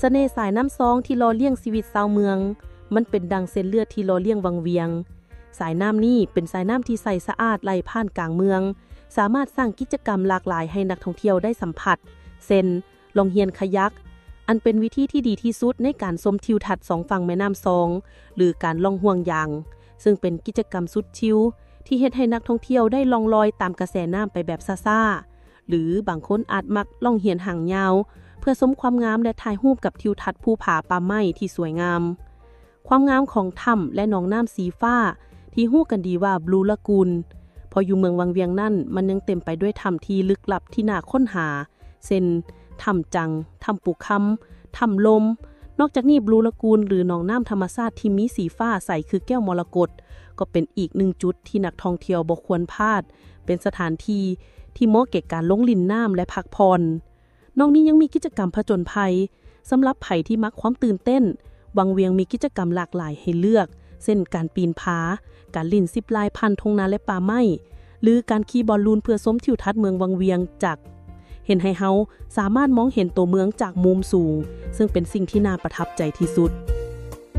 ສະເໜ່ສາຍນ້ຳຊອງທີ່ຫຼໍ່ລ້ຽງຊີວິດຊາວເມືອງ ມັນເປັນດັ່ງເສັ້ນເລືອດທີ່ຫຼໍ່ລ້ຽງວັງວຽງ. ສາຍນ້ຳນີ້ເປັນສາຍນ້ຳທີ່ໃສສະອາດໄຫຼຜ່ານກາງເມືອງ, ສາມາດສ້າງກິດຈະກຳຫຼາກຫຼາຍໃຫ້ນັກທ່ອງທ່ຽວໄດ້ສຳຜັດ ເຊັ່ນ ລ່ອງຮຽນຄາຍັກ ອັນເປັນວິທີທີ່ດີທີ່ສຸດໃນການຊົມທິວທັດສອງຝັ່ງແມ່ນ້ຳຊອງ ຫຼື ການລ່ອງຫ່ວງຍາງ ເຊິ່ງເປັນກິດຈະກຳສຸດຊິວທີ່ເຮັດໃຫ້ນັກທ່ອງທ່ຽວໄດ້ລ່ອງລອຍຕາມກະແສນ້ຳໄປແບບຊ້າໆ ຫຼື ບາງຄົນອາດມັກລ່ອງຮຽນຫາງຍາວ ເພື່ອຊົມຄວາມງາມ ແລະ ຖ່າຍຮູບກັບທິວທັດພູຜາປ່າໄມ້ທີ່ສວຍງາມ. ຄວາມງາມຂອງຖ້ຳ ແລະ ໜອງນ້ຳສີຟ້າ ທີ່ຮູ້ກັນດີວ່າ Blue Lagoon ເພາະຢູ່ເມືອງວັງວຽງນັ້ນ ມັນຍັງເຕັມໄປດ້ວຍຖ້ຳທີ່ລຶກລັບທີ່ໜ້າຄົ້ນຫາ ເຊັ່ນ ຖ້ຳຈັງ, ຖ້ຳປູຄຳ, ຖ້ຳລົມ. ນອກຈາກນີ້ Blue Lagoon ຫຼື ໜອງນ້ຳທຳມະຊາດທີ່ມີສີຟ້າໃສຄືແກ້ວມໍລະກົດ ກໍເປັນອີກໜຶ່ງຈຸດທີ່ນັກທ່ອງທ່ຽວບໍ່ຄວນພາດ, ເປັນສະຖານທີ່ທີ່ເໝາະແກ່ການລົງຫຼິ້ນນ້ຳ ແລະ ພັກຜ່ອນ. ນອກນີ້ຍັງມີກິດຈະກຳຜະຈົນໄພ ສຳລັບໃຜທີ່ມັກຄວາມຕື່ນເຕັ້ນ, ວັງວຽງມີກິດຈະກຳຫຼາກຫຼາຍໃຫ້ເລືອກ ເຊັ່ນ ການປີນຜາ, ການຫຼິ້ນຊິບລາຍຜ່ານທົ່ງນາ ແລະ ປ່າໄມ້ ຫຼື ການຂີ່ບອນລູນເພື່ອຊົມທິວທັດເມືອງວັງວຽງ ຈາກ ເຮັດໃຫ້ເຮົາສາມາດມອງເຫັນຕົວເມືອງຈາກມຸມສູງ, ເຊິ່ງເປັນສິ່ງທີ່ໜ້າປະທັບໃຈທີ່ສຸດ.